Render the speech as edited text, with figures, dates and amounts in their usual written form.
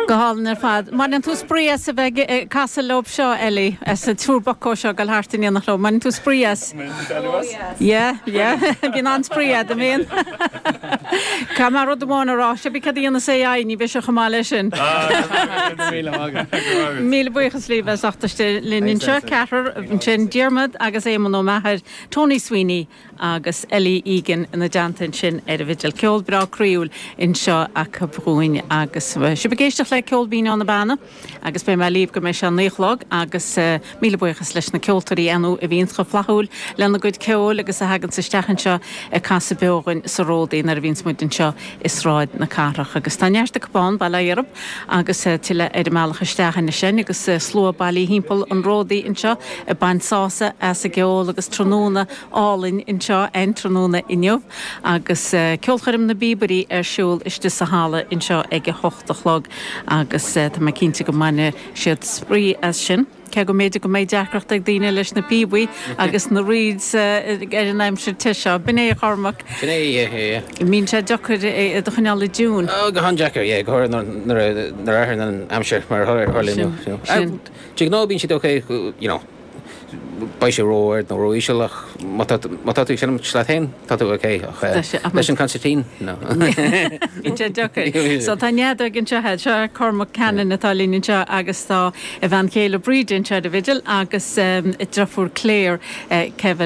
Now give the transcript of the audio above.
Go hálainn ar fad. Mbaineann tú spraoi as a bheith ag casadh leob seo, Ellie, as an triúr bucko seo ag dul thart in éineacht leo. Mbaineann tú spraoi as? Oh yes. Yeah, yeah. Bíonn an-spraoi a'd, an mbíonn? Caithfidh mé rud amháin a rá, cibé cad a dhéanas AI, ní bheidh sé chomh maith leis sin. Míle buíochas libh as ucht istigh linn anseo, ceathrar ansin, Diarmaid agus Éamonn Ó Meachair, Tony Sweeney, agus Ellie Egan ina dteannta ansin ar an bhfidil. Ceol breá croíúil anseo acu dhúinn agus sibh ag éisteacht le Ceol Binn ó na Beanna agus beidh mé libh go mbeidh sé a naoi a chlog agus míle buíochas leis na ceoltóirí ar ndóigh a bhíonns chomh flaithiúil lena gcuid ceoil agus a thaganns isteach anseo ag casadh beo dhúinn sa Ródaí nuair a bhíonns muid anseo i Sráid na Cathrach. Agus tá neart acu ann, bail ó Dhia orthu agus tuilleadh ar a mbealach isteach anois sin agus slua bailithe thimpeall an Ródaí anseo ag baint sásamh as an gceol agus tráthnóna álainn anseo an tráthnóna inniu agus ceolchoirm na bPíobairí ar siúl istigh sa halla anseo ag a hocht a chlog agus tá mé cinnte go mbainfidh siad spraoi as sin. Cé go mb'fhéidir go mbeidh deacracht ag daoine leis na píobaí agus na reeds ar an aimsir te seo. B'in é, a Chormaic. Sin é, yeah, yeah, yeah. Mbíonn sé deacair iad a choinneáil i dtiúin. Oh, go han-deacair, yeah, go háirithe nuair a nuair a athraíonn an aimsir mar a tharla inniu, you know. Sin. De ghnáth bíonn siad okay, you know. beidh sé ró-ard nó ró-íseal ach má tá má tá tú ag seinm leat féin, tá tú ok ach leis an consairtín, no. Bíonn sé deacair. So tá an fheadóg anseo agat, seo Cormac Cannon atá linn anseo agus tá a bhean chéile Bríd anseo ar an bhfidil agus a deirfiúr Claire Kevill.